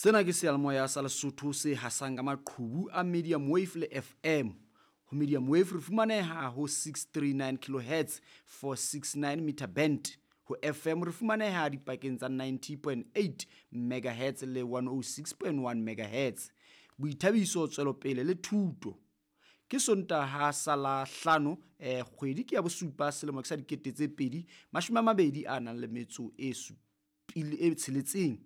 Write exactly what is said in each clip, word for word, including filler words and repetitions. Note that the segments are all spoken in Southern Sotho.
Sena ke seyalemoya sa Lesotho se hasang ka maqhubu a medium wave le F M. Ho medium wave re fumaneha ho six three nine kilohertz, four six nine meter band. Ho F M re fumaneha dipakeng tsa ninety point eight megahertz le one oh six point one megahertz. Boithabiso, tswelopele le thuto. Ke Sontaha sa la hlano, eh, kgwedi ke ya bosupa, selemo ke sa dikete tse pedi mashome a mabedi a nang le metso e supile e tsheletseng.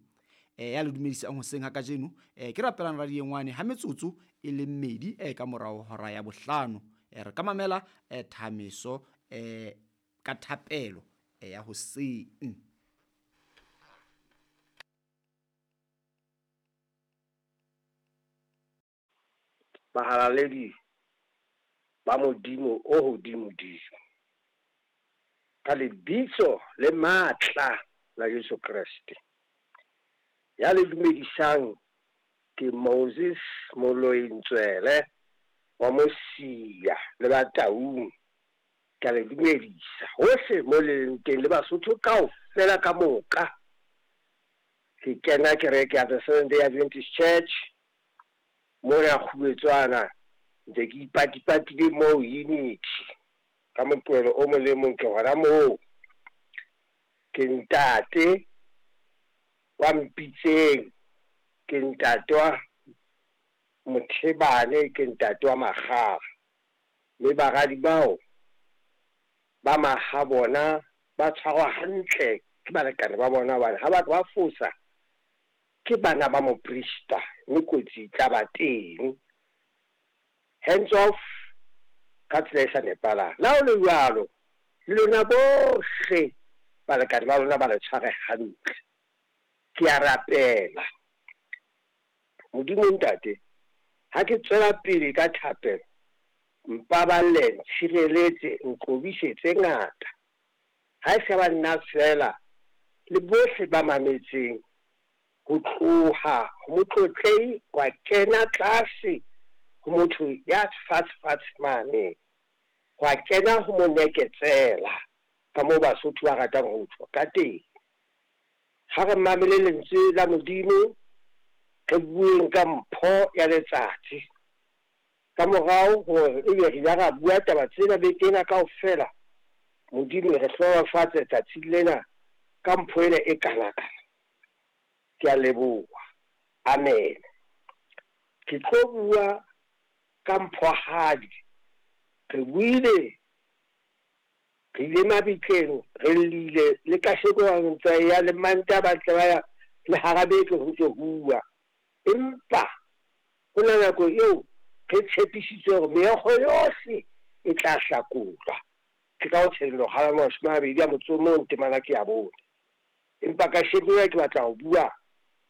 Eh, ya le dumedisang hoseng ha kajeno, eh, ke rapelang radiengwane ha metsotso e le mmedi, eh, ka morao hora ya bohlano. Eh, re ka mamela, eh, thameso, eh, ka thapelo, eh, ya hoseng. Bahalaledi ba Modimo o hodimodimo, ka lebitso le matla la Jesu Kreste, ya le dumedisang ke Moses Moloi Ntswele wa Mosia le Bataung. Ke a le dumedisa hohle mo le leng teng le Basotho kaofela ka moka. Ke kena kereke ya The Seventh Day Adventist Church mona Kgubetswana, ntse ke ipatipatile moo Unity ka moqebelo o mong le mong ke hona moo. Ke ntate wa Mpitseng, ke ntate wa Mothebane, ke ntate wa Makgala. Mme baradi bao ba mahabona ba tshwarwa hantle ke balekane ba bona, hobane ha batho ba fosa ke bana ba moprista, mme kotsi e tla ba teng. Hands off ka tsela e sa nepahalang. Le ha ho le jwalo, le lona bohle balekane ba lona ba le tshware hantle. Ke a rapela Modimo Ntate, ha ke tswela pele ka thapelo, mpaballe, ntshireletse, nqobise tse ngata. Ha e sa ba nna fela le bohle ba mametseng, ho tloha ho motlotlehi wa kena tlase ho motho ya fatshe fatshe mane, hwa kena ho moneketsela ka moo Basotho ba ratang ho tjho ka teng. Ha re mamele lentswe la Modimo, re bueng ka mpho ya letsatsi. Ka morao hore ebe re ile ra bua taba tsena beke ena kaofela, Modimo re hlohonolofatse letsatsi lena ka mpho ena e kanakana. Ke a leboha. Amen. Ke tlo bua ka mphohadi. Re buile, re ile mabitleng, re llile le kasheko ba ntse ya le Manta ba tle ba ya le hara beke ho ntse bua. Empa ho na nako eo re tshepisitswe hore meokgo yohle e tla hlakolwa. Ke ka ho Tshenolo kgaolo ya mashome a mabedi a motso o mong temana ke ya bone. Empa kasheko ena ke batla ho bua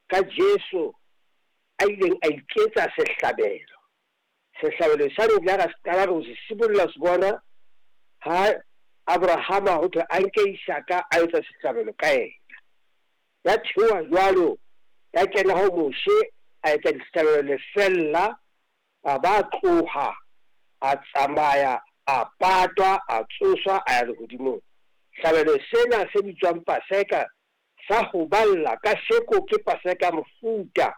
ka Jesu a ileng a iketsa sehlabelo. Sehlabelo sa re ra qala re ho se sibolla se bona ha Abrahama ho thwe a nke Isaka a etsa sehlabelo ka yena. Ya theoha jwalo, ya kena ho Moshe a etsa dihlabelo lefella, a ba tloha, a tsamaya, a patwa, a tsoswa, a ya lehodimong. Hlabelo sena se bitswang Paseka sa ho balla kasheko ke Paseka mofuta,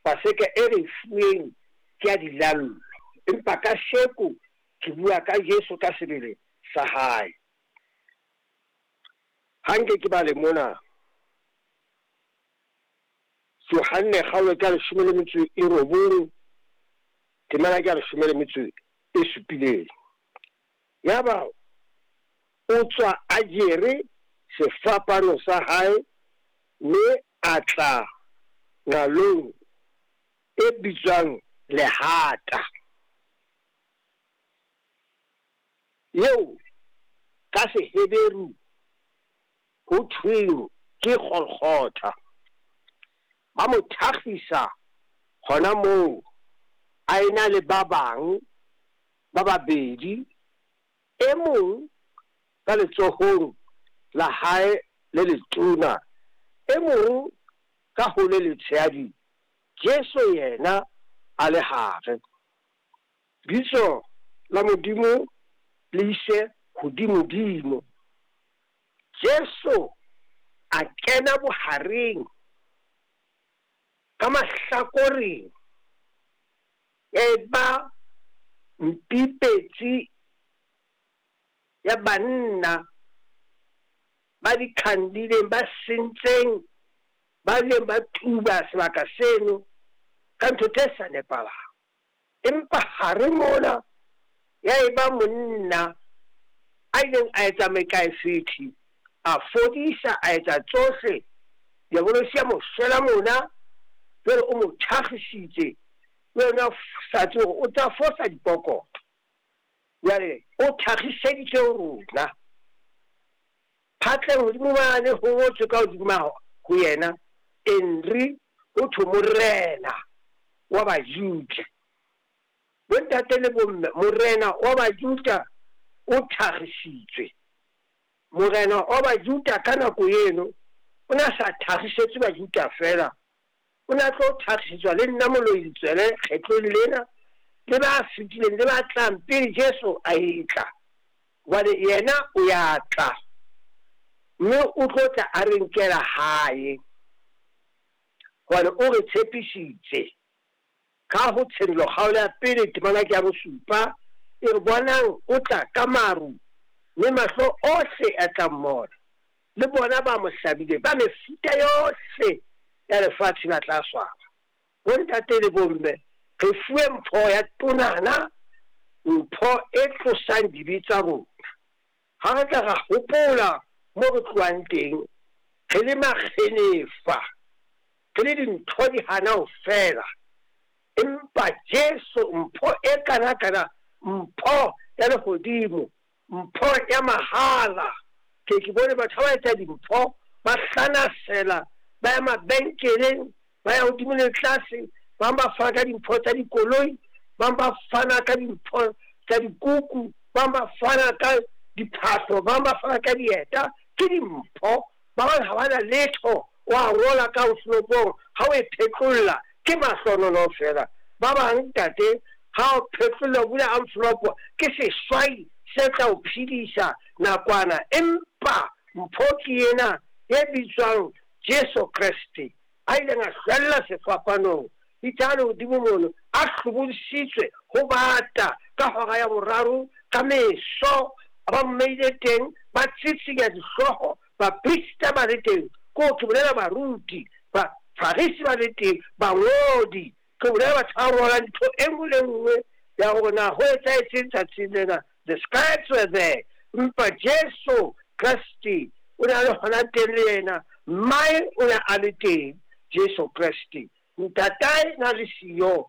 Paseka e re fuweng ke ya dilallo. Empa kasheko ke bua ka Jesu ka sebele sa hae. Ha nke ke bale mona Johanne kgaolo ke ya leshome le metso e robong, temana ke ya leshome le metso e supileng. Yaba o tswa a jere sefapano sa hae, mme a tla nqalong e bitswang Lehata, eo ka Seheberu ho thweng ke Golgotha. Ba mo thakgisa hona moo, a ena le ba bang ba babedi, e mong ka letsohong la hae le letona, e mong ka ho le letshehadi, Jesu yena a le hare. Bitso la Modimo le ise hodimodimo. Jesu a kena bohareng Ka mahlakoreng e ba mpipetsi ya banna ba dikhandileng ba sentseng ba ileng ba tuba sebaka seno ka ntho tse sa nepahalang. Empa hare mona ya eba monna a ileng a etsa mekaefethi, a fodisa, a etsa tsohle. Diabolosi a mo shwela mona, jwale o mo thakgisitse, le yena sa tsebe hore o tla fosa dipokotho. Jwale o thakgiseditse rona. Phatleng hodimo mane ho ngotswe ka hodima ho yena, Henry ho thwe morena wa Bajuda. Bontate le bomme, morena wa Bajuda o thakgisitswe. Morena wa Bajuda ka nako eno o ne a sa thakgisetswe Bajuda feela, o ne a tlo thakgisetswa le nna Moloi Letswele kgetlong lena, le ba fetileng le ba tlang pele Jesu a etla. Hobane yena o ya tla, mme o tlo tla a re nkela hae, hobane o re tshepisitse. Ka ho Tshenolo kgaolo ya pele temana ke ya bosupa, e re bonang o tla ka maru, mme mahlo ohle a tla mmona, le bona ba mo hlabileng ba mefuta yohle ya lefatshe ba tla swaba. Bontate le bomme, re fuwe mpho ya tonana, mpho e tlosang dibe tsa rona. Ha re tla ra hopola mo re tlohang teng, re le makgenefa, re le dintho di hana ho fela. Empa Jesu mpho e kana-kana, mpho ya lehodimo, mpho ya mahala. Ke ke bone batho ha ba etsa dimpho, ba hlanasela, ba ya mabenkeleng, ba ya hodimo le tlase, ba bang ba fana ka dimpho tsa dikoloi, ba bang ba fana ka dimpho tsa dikuku, ba bang ba fana ka diphahlo, ba bang ba fana ka dieta. Ke dimpho. Ba bang ha ba na letho, wa rola ka envelopong, ha o e phetlolla ke mahlohonolo fela. Ba bang ntate, ha o phetlolla o bula envelope, ke seswai se tla o phedisa nakwana. Empa mpho ke ena e bitswang Jesu Kreste, a ileng a hlwella sefapanong, itse a le hodimo mono, a hlobodisitswe ho bata ka hora ya boraro ka meso, ba mmeile teng, ba tsitsinya dihlooho, baprista ba le teng, ko ke bolela baruti, bafarisi ba le teng, bangodi, ke bolela batho ba rwalang ntho e nngwe le nngwe ya hore na ho etsahetseng tsatsing lena. The scribes were there. Empa Jesu Kreste o ne a le hona teng le yena, mmae o ne a le teng, Jesu Kreste. Ntatae na le siyo,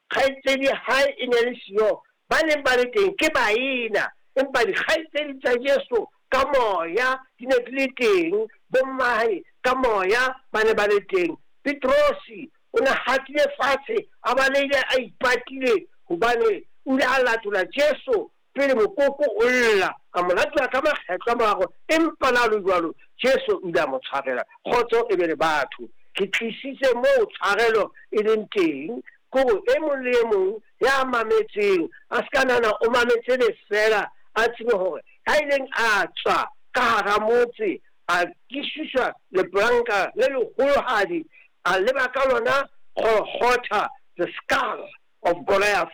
kgaitsedi hae e ne le siyo, ba neng ba le teng ke baena, empa dikgaitsedi tsa Jesu ka moya di ne di le teng, bommae ka moya ba ne ba le teng. Petrosi o ne hatile fatshe, a balehile a ipatile, hobane o ile a latola Jesu pele mokoko o lla, a mo latola ka makgetlo a mararo, empa na le jwalo Jesu o ile a mo tshwarela. Kgotso e be le batho. Ke tlisitse moo tshwarelo e leng teng, ke hore e mong le e mong ya mametseng a se ka nahana o mametse lefeela, a tsebe hore ha ileng a tswa ka hara motse, a kisuswa lepolanka le leholohadi, a leba ka lona Golgotha, the skull of Goliath.